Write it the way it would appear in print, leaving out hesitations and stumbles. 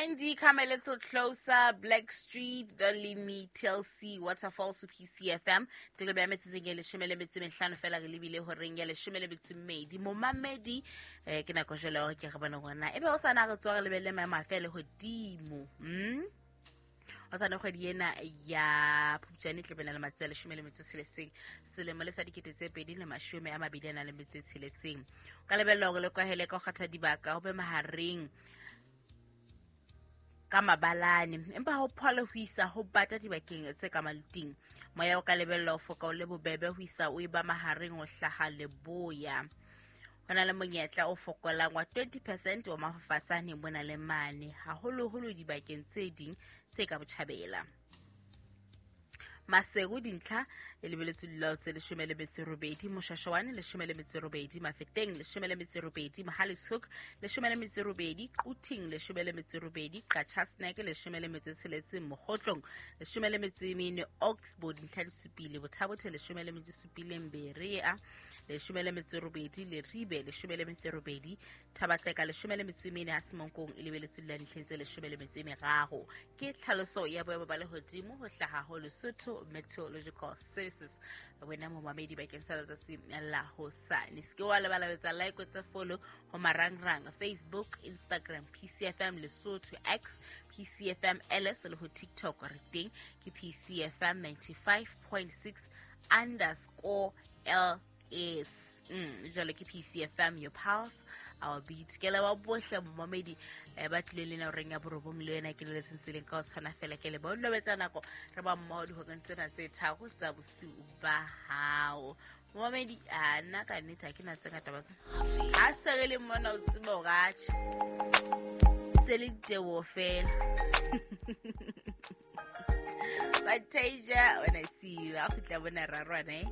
Brandy, come a little closer. Black Street, The Limi, TLC, Waterfalls, PCFM. Teko ya metsotsong e 15 fela re lebile horeng ya 12. Momamedi, ke nako jwale hore ke re bone hore na ebe o sa na re tswa re lebelle maemo a fe lehodimo. O tsane kgwedi ena ya Phupjane e tlebe na le matsatsi a 16 selemo le sa 2026. O ka lebella hore le kwahele ka ho kgatha dibaka ho be mahareng ka mabalane, empa ho phole ho isa ho bata dibakeng tse ka maluting. Moya o ka lebella ho foka o le bobebe ho isa o eba mahareng ho hlaha leboya. Ho na le monyetla o fokolang wa 20% wa mafafatsane mona le mane, haholoholo dibakeng tse ding tse ka botjhabela. Maseru dintlha e lebeletswe dilao tse 18, Moshashawane 18, Mafeteng 18, Mohale's 18, Quthing 18, Qacha's Nek 16, Mokgotlong 14, Oxbow dintlha di supile, Bothabothe 17, Berea 18, Leribe 18, Thabatseka 14, ha Semonkong e lebeletswe la dintlheng tse 13. Ke tlhaloso ya boemo ba lehodimo ho hlaha ho Lesotho Meteorological Services. Wena momamedi bakeng sa letsatsi la hosane, se ke wa lebala ho etsa like, o tse follow ho marangrang Facebook, Instagram, PCFM Lesotho, X, PCFM LS le ho TikTok re teng ke PCFM 95.6 underscore LS. Jwale ke PCFM, your pulse, our beat. Ke leboha bohle momamedi ba tlileng le na horeng ya 9 le wena ke leletseng tseleng ka ho tshwana fela. Ke leboha o nako re ba mmoho dihoreng tsena tse 3 tsa bosiu ba hao. Momamedi, a nna ka nnete ha ke na tse ngata ba tsena. Ha se re le mona o tsebe hore atjhe, se le diteboho fela. But Tasia, when I see you, a kgutla bona rarwana, eh?